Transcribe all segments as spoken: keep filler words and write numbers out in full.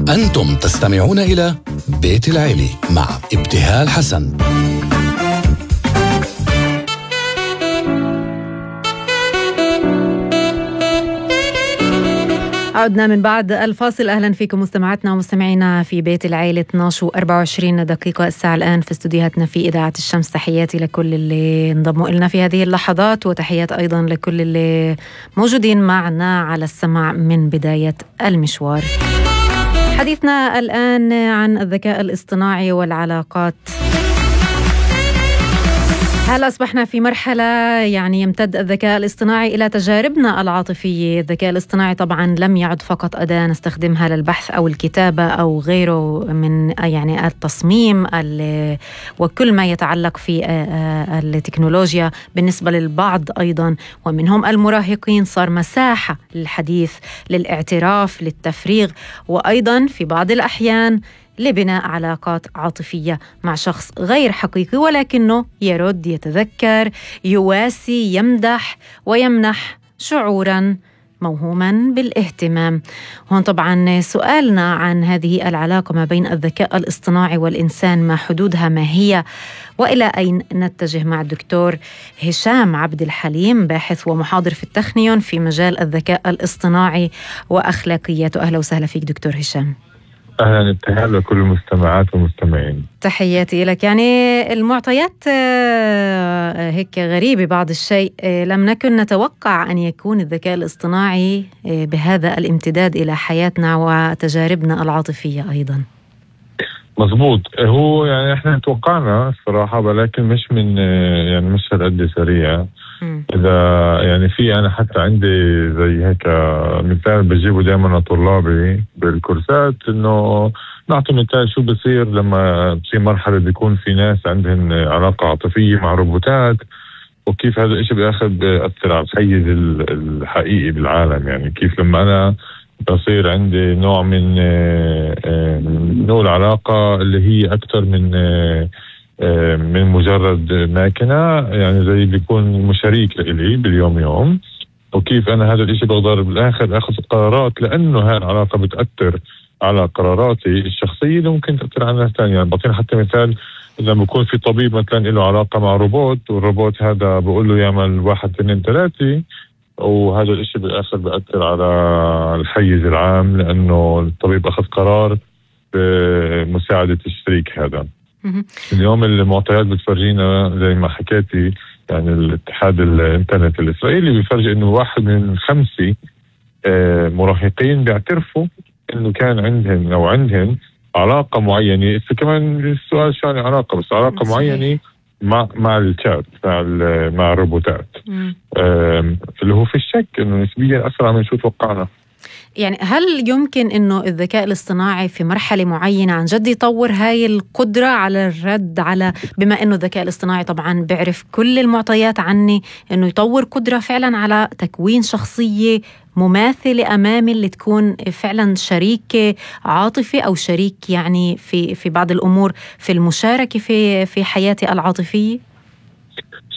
أنتم تستمعون إلى بيت العيلة مع ابتهال حسن. عدنا من بعد الفاصل. أهلا فيكم مستمعاتنا ومستمعينا في بيت العيلة. اثنعش وأربعة وعشرين دقيقة الساعة الآن في استوديوهاتنا في إذاعة الشمس. تحياتي لكل اللي انضموا إلنا في هذه اللحظات، وتحيات أيضا لكل اللي موجودين معنا على السمع من بداية المشوار. حديثنا الآن عن الذكاء الاصطناعي والعلاقات. هل أصبحنا في مرحلة يعني يمتد الذكاء الاصطناعي إلى تجاربنا العاطفية؟ الذكاء الاصطناعي طبعا لم يعد فقط أداة نستخدمها للبحث أو الكتابة أو غيره من يعني التصميم وكل ما يتعلق في التكنولوجيا. بالنسبة للبعض أيضا ومنهم المراهقين صار مساحة للحديث، للاعتراف، للتفريغ، وأيضا في بعض الأحيان لبناء علاقات عاطفية مع شخص غير حقيقي، ولكنه يرد، يتذكر، يواسي، يمدح ويمنح شعوراً موهوماً بالاهتمام. هون طبعاً سؤالنا عن هذه العلاقة ما بين الذكاء الاصطناعي والإنسان، ما حدودها، ما هي، وإلى أين نتجه، مع الدكتور هشام عبد الحليم، باحث ومحاضر في التخنيون في مجال الذكاء الاصطناعي وأخلاقياته. أهلا وسهلا فيك دكتور هشام. أهلا ابتهال لكل المستمعات والمستمعين. تحياتي لك. يعني المعطيات هيك غريبة بعض الشيء، لم نكن نتوقع أن يكون الذكاء الاصطناعي بهذا الامتداد إلى حياتنا وتجاربنا العاطفية أيضا. مظبوط، هو يعني احنا توقعنا الصراحة، ولكن مش من يعني مش هالقد سريع. إذا يعني في أنا حتى عندي زي هيك مثال بجيبه دائما لطلابي بالكورسات، إنه نعطي مثال شو بصير لما في مرحلة بيكون في ناس عندهم علاقة عاطفية مع روبوتات، وكيف هذا الإشي بأخذ بأثر على الحيز الحقيقي بالعالم. يعني كيف لما أنا بصير عندي نوع من نوع العلاقة اللي هي أكثر من من مجرد ماكنة، يعني زي بيكون مشاريك لإلي باليوم يوم، وكيف أنا هذا الإشي بقدر بالآخر أخذ قرارات، لأنه هاي العلاقة بتأثر على قراراتي الشخصية اللي ممكن تأثر على ناس تانية. يعني بعطينا حتى مثال، إذا بيكون في طبيب مثلا له علاقة مع روبوت، والروبوت هذا بقول له يعمل واحد اثنين ثلاثة، وهذا الإشي بالآخر بأثر على الحيز العام، لأنه الطبيب أخذ قرار بمساعدة الشريك هذا. اليوم المعطيات بتفرجينا زي ما حكيتي، يعني الاتحاد الانترنت الإسرائيلي بيفرجي إنه واحد من خمسة مراهقين بيعترفوا إنه كان عندهم أو عندهم علاقة معينة. كمان السؤال شو يعني علاقة، بس علاقة معينة مع مع الشات، مع مع الروبوتات، اللي هو في الشك إنه نسبيا أسرع من شو توقعنا. يعني هل يمكن إنه الذكاء الاصطناعي في مرحلة معينة عن جد يطور هاي القدرة على الرد على، بما إنه الذكاء الاصطناعي طبعا بيعرف كل المعطيات عني، إنه يطور قدرة فعلا على تكوين شخصية مماثلة أمامي اللي تكون فعلا شريك عاطفي أو شريك يعني في في بعض الأمور في المشاركة في في حياتي العاطفية؟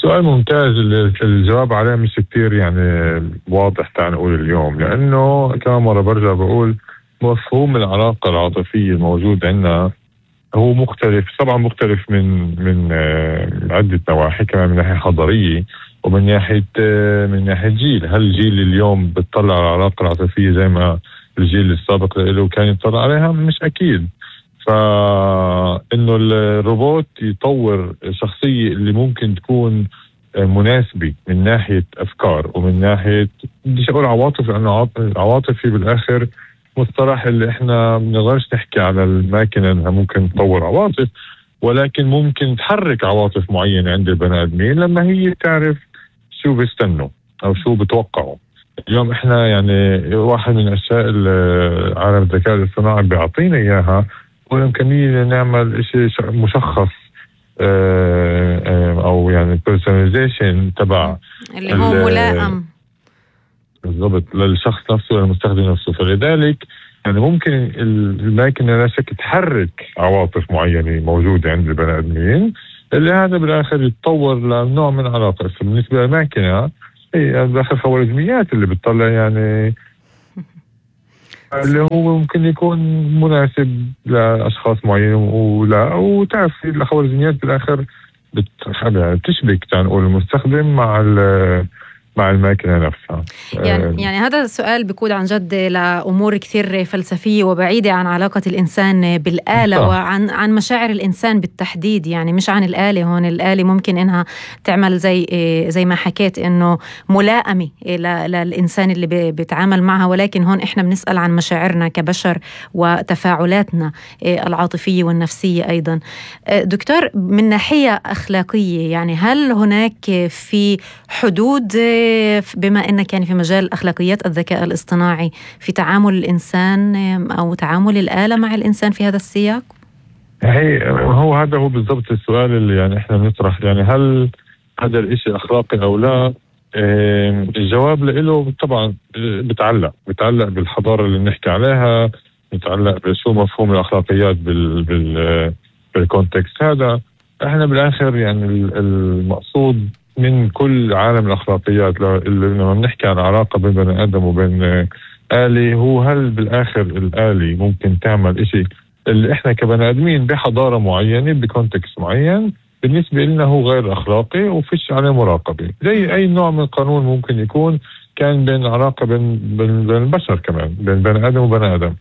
سؤال ممتاز، الجواب عليه مش كتير يعني واضح تعال نقول اليوم، لأنه كمان مرة برجع بقول مفهوم العلاقة العاطفية الموجود عندنا هو مختلف، طبعا مختلف من من عدة نواحي، كمان من ناحية حضارية ومن ناحية من ناحية جيل. هل الجيل اليوم بتطلع على العلاقة العاطفية زي ما الجيل السابق له كان يطلع عليها؟ مش أكيد. فإنه الروبوت يطور شخصية اللي ممكن تكون مناسبة من ناحية أفكار ومن ناحية بديش أقول عواطف، لأنه عواطفي بالآخر مصطلح اللي إحنا بنقدرش نحكي على الماكينة إنها ممكن تطور عواطف، ولكن ممكن تحرك عواطف معينة عند البني آدمين لما هي تعرف شو بيستنوا أو شو بتوقعوا. اليوم إحنا يعني واحد من أشياء عالم الذكاء الاصطناعي بيعطينا إياها والإمكانية نعمل إشي مشخص أو يعني personalization تبع اللي هو ملائم بالضبط للشخص نفسه والمستخدم نفسه. فلذلك يعني ممكن الماكينة لا شك تحرك عواطف معينة موجودة عند البني آدمين، اللي هذا بالآخر يتطور لنوع من علاقة. بالنسبة للماكينة هي بالآخر خوارزميات اللي بتطلع يعني اللي هو ممكن يكون مناسب لأشخاص معينين ولا، وتعرف الخوارزميات بالآخر بتشبك تنقول المستخدم مع مع الماكينة نفسها. يعني, يعني هذا السؤال بيكون عن جد لأمور كثير فلسفية وبعيدة عن علاقة الإنسان بالآلة صح. وعن عن مشاعر الإنسان بالتحديد، يعني مش عن الآلة. هون الآلة ممكن إنها تعمل زي زي ما حكيت إنه ملائمة للإنسان اللي بيتعامل معها، ولكن هون إحنا بنسأل عن مشاعرنا كبشر وتفاعلاتنا العاطفية والنفسية أيضا. دكتور، من ناحية أخلاقية يعني هل هناك في حدود بما أنك يعني في مجال أخلاقيات الذكاء الاصطناعي في تعامل الإنسان أو تعامل الآلة مع الإنسان في هذا السياق؟ هي هو هذا هو بالضبط السؤال اللي يعني إحنا نطرح، يعني هل هذا الإشي أخلاقي أو لا؟ الجواب له طبعا بتعلق بتعلق بالحضارة اللي بنحكي عليها، بتعلق بشو مفهوم الأخلاقيات بال بال بالكونتكست هذا. إحنا بالآخر يعني المقصود من كل عالم الأخلاقيات لما بنحكي عن علاقة بين بني آدم وبين آلي، هو هل بالآخر الآلي ممكن تعمل إشي اللي إحنا كبني آدمين بحضارة معينة بكونتكست معين بالنسبة لنا هو غير أخلاقي وفيش عليه مراقبة، زي أي نوع من القانون ممكن يكون كان بين علاقة بين, بين, بين البشر كمان بين بني آدم وبني آدم.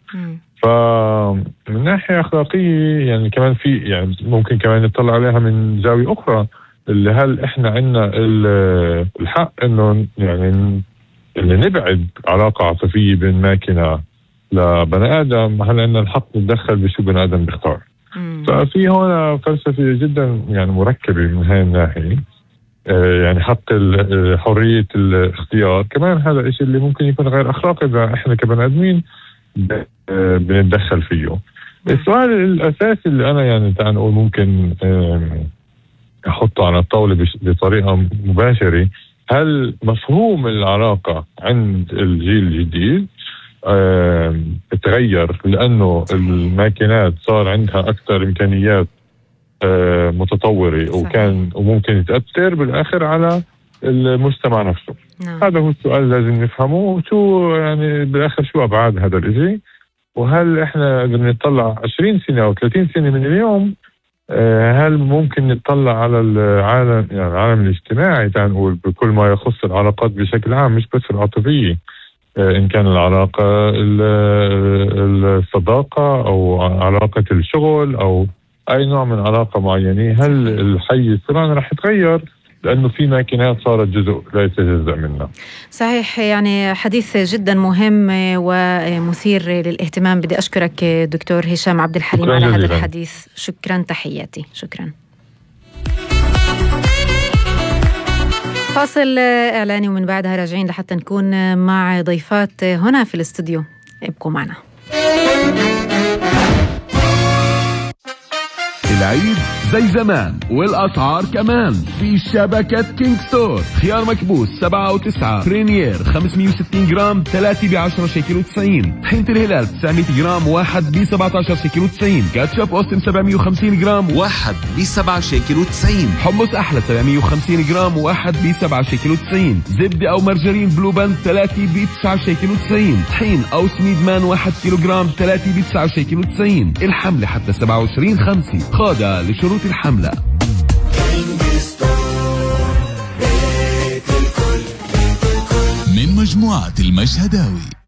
فمن ناحية أخلاقية يعني كمان في يعني ممكن كمان نطلع عليها من زاوية أخرى، اللي هل إحنا عنا الحق إنه يعني اللي نبعد علاقة عاطفية بين ماكينة لبني آدم، هل عنا الحق نتدخل بشو بني آدم بيختار؟ ففي هنا فلسفة جدا يعني مركبة من هاي الناحية، يعني حق حرية الاختيار كمان هذا الشيء اللي ممكن يكون غير أخلاقي إذا إحنا كبني آدمين بنتدخل فيه. السؤال الأساسي اللي أنا يعني تعال نقول ممكن أحطه على الطاولة بطريقة مباشرة، هل مفهوم العلاقة عند الجيل الجديد تغير لأنه الماكينات صار عندها أكثر إمكانيات متطورة وكان وممكن تأثر بالآخر على المجتمع نفسه؟ نعم. هذا هو السؤال لازم نفهمه، وشو يعني بالآخر شو أبعاد هذا الإشي، وهل إحنا بدنا نطلع عشرين سنة أو ثلاثين سنة من اليوم هل ممكن نطلع على العالم يعني العالم الاجتماعي تنقول بكل ما يخص العلاقات بشكل عام مش بس العاطفية، إن كان العلاقة الصداقة أو علاقة الشغل أو أي نوع من علاقة معينة، هل الحيز طبعا رح يتغير لأنه في ماكينات صارت جزء لا يتجزأ منها. صحيح، يعني حديث جدا مهم ومثير للاهتمام. بدي أشكرك دكتور هشام عبد الحليم على هذا الحديث. شكرا، تحياتي. شكرا. فاصل إعلاني ومن بعدها راجعين لحتى نكون مع ضيفات هنا في الاستوديو. ابقوا معنا. العيد زي زمان والأسعار كمان في شبكة كينج ستور. خيار مكبوس سبعة وتسعة، برينير خمسمية وستين جرام ثلاثة بعشرة شيكل وتسعين، طحينة الهلال تسعمية جرام واحد بسبعة عشر شيكل وتسعين، كاتشب أوستن سبعمية وخمسين جرام واحد بسبعة شيكل وتسعين، حمص أحلى سبعمية وخمسين جرام واحد بسبعة شيكل وتسعين، زبدة أو مرجرين بلو باند ثلاثة بتسعة شيكل وتسعين، طحين أو سميد مان واحد كيلو جرام ثلاثة بتسعة شيكل وتسعين. الحملة حتى سبعة وعشرين خمسة، خاضع لشروط الحملة. من مجموعة المشهداوي.